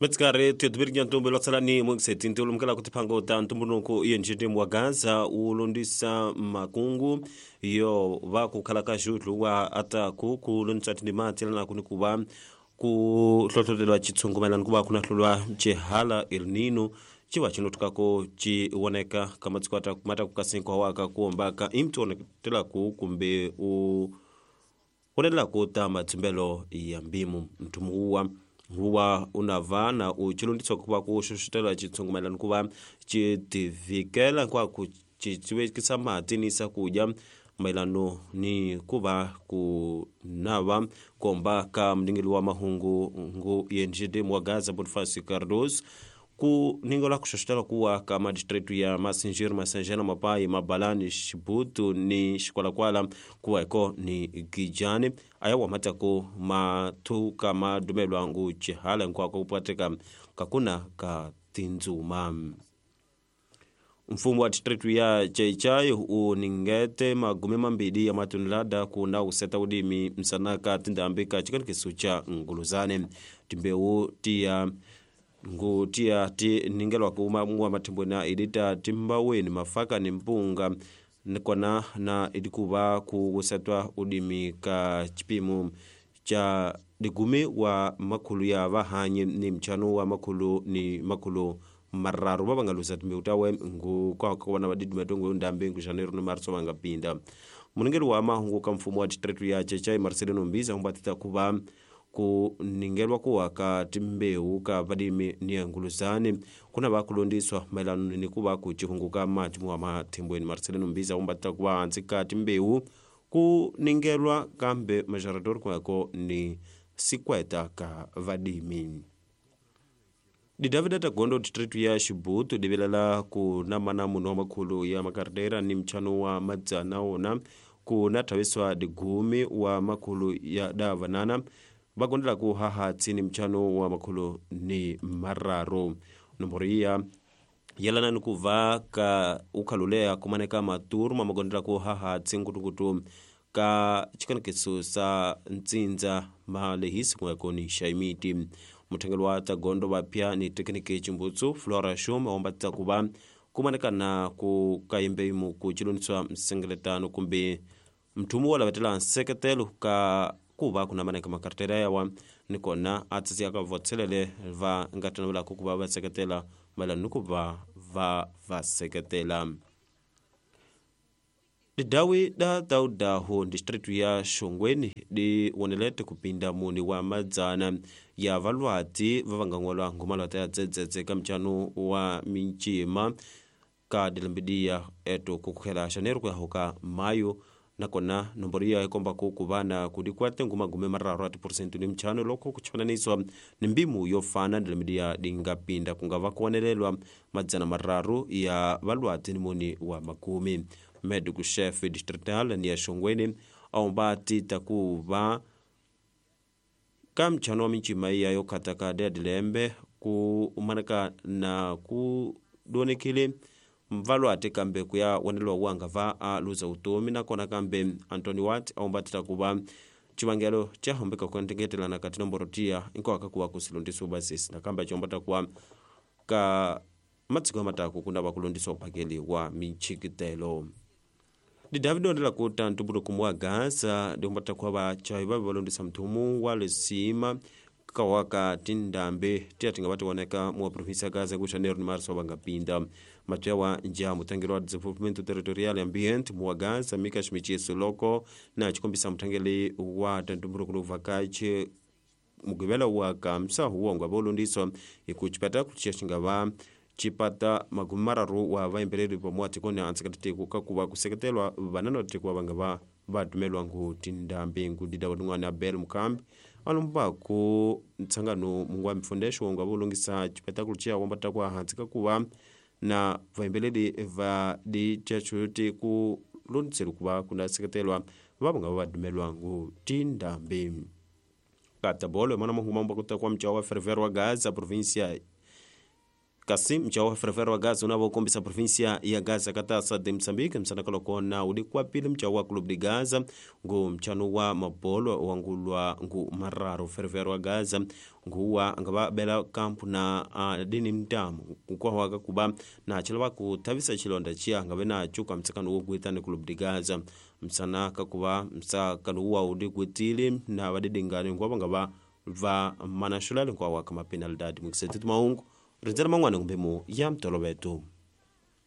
Metsikari tuyotubiri ntombo lwatsalani mwekiseti ntiulumukela kutiphango ta ntumbuluko yenjitimu wa Gaza ulondisa makungu yo va kukhala ka xutlu wa ataku kulondisa tindima tselana kuni kuva ku hlohlotelwa chitshungu mayelana kuva kuna hlulwa chihala El Nino civa cinotukako ci woneka ka matsiko mataku ka sinkwa waka kuombaka imti woneketelaku kumbe u wonelelaku ta mathimbelo ya mbimu mthumu uwa huwa unava na uchilondiswa kuva ku xoxotela chitshungu mayelana kuva ci tivikela nkwaku ci mati ni sakudya mayelano ni kuva ku nava komba ka mningeli wa mahungu ngu yenjide wa Gaza Bonifacio Cardoso ku ningola kuxoxotela kuwa ka madistritu ya Masinjiri, Masanjana, Mapai, Mabalani, Xibutu ni Xikwalakwala kuwa eko ni Gijani aya wamatako mathuka madumelwa ngu chihala nkwako kupateka kakuna ka tindzuma. Mfumo wa distritu ya Chaichai uningete magume mambili ya matonelada kuna useta udimi msanaka tindambi ka chikanikiso cha nguluzane timbewu tiya ngutia ti ningelwa kuma mwa mathimbo na idita timbaweni mafaka ni mpunga nikona na idikuva kusetwa udimi ka chipimo cha digumi wa makhulu ya vahanyi ni mchano wa makhulu ni makhulu mararu va nga lusa timbewu tawe ngu kwa na vadidima tongo ndambi ngu janeiro ni marso va nga pinda. Muningeli wa mahungu ka mfumo wa distritu ya Chechai Marcelino Mbiza humbatita kuva ku ningelwa kuwa ka timbewu ka vadimi ni nguluzani kuna vakulondiswa mayelana ni kuva ku chihunguka mati wa mathimbweni. Marcelino Mbiza humbatita kuva hansi ka timbewu ku ningelwa kambe majarador kwako ni sikweta ka vadimi. Didavida Tagondo distritu ya Xibutu divilela ku namana munhu wa makhulu ya makardera ni mchano wa madzana wona ku na thaviswa digumi wa makhulu ya davanana vakondela ku haha tsini mchano wa makhulu ni mararu. Nomboro iya yelana ni kuva ka ukhalulea kumaneka maturu mamakondela ku haha tsinkutukutu ka chikanikiso sa ntsindza malehisi kuweko ni xaimiti. Muthengeli wa Tagondo vapya ni tekiniki chimbutsu Flora Shum awombatisa kuva kumanekana ku kayembeimu ku chiloniswa msengeletano kumbe mthumu wo lavetela nseketelo ka kuva kunamaneka makartera yawa nikona atsisi ka votselele va nga tanavelaka kuva va seketela mayelana ni kuva va va seketela. Didawi da taudaho distritu ya Shongweni di wonelete kupinda muni wa madzana ya valwati va vangangwalwa ngumalwata ya dzedzedze ka mchano wa minchima ka dilembidiya eto kukhela janeiro kuya hoka mayo nakona nomboro iya ikomba ku kuvana kudikwate ngumagume mararu ati porcent ni mchano loko kuchifananiswa ni mbimu yofana dilemidiya dingapinda kungava kuonelelwa madzana mararu ya valwati ni muni wa makumi. Medical chef distrital ni ya Shongweni aomba tita kuva ka mchano wa minchima iya yokhataka dilembe ku umanaka na ku donekile mvalwate kambe kuya wonelwa wanga va a luza utomi nakona kambe Anthony Watt aombatita kuva chivangelo cha hombeka kuentengetelana kati nomboro tiya inkwaka kuwa kusilondiswa basisi nakambe achombata kuwa ka matsiko mataku kuna vakulondiswa uphakeli wa michikitelo. Di David ondela kuta ntumbuluko wa Gaza diombata kuwa vachai vavi valondisa mthumu wa lesima kawaka tindambe tiya tinga vatiwoneka mua provinsia ya Gaza ku janeiro ni marso vangapinda. Matya wa nja mutangeli wa desenvolvimento territorial ambient muwa Gaza Mika Ximichiso loko na chikombisa muthangeli wa tantumbuluko vakache mugivela wa kamsa huwongo volondiswa hiku chipata kuchiya xingava chipata magumi mararu wa vayimbeleli pamwe tikoni antseketetiku kakuva kuseketelwa vanana tikuva vanga va vadumelwa ngu tindambi ngu dida wadun'wana Abel Mukambi alombaku ntsangano mungu wa mifundesho wongo volongisa chipetakulu chiya wambata kwa hansi kakuva na vayimbeleli va dichachuti ku londiseli kuva kuna seketelwa va vanga vadumelwa ngu tindambi. Katabolo mana mahungu mambo kuta kwa mchao wa Ferver wa Gaza provincia Kasi mchao wa Ferroviário wa Gaza unavo kombisa província ya Gaza katasa de Moçambique msanaka lokona uli kwapili mchao wa Clube de Gaza ngu mchano wa mabolo wangulwa ngu mararo. Ferroviário wa Gaza nguwa angava bela kampu na dini mtamu kukwahwaka kuba na chilava kuthavisa chilonda chiya angave nacho kwa mtsakano wokuitani Clube de Gaza msana kakuva msakano uwa uli kwitile na vadidingani nguwa vangava va manaxulale nkwawaka mapenalidade mukiseti maungu rindzela man'wana kumbe mu ya mtoloveto.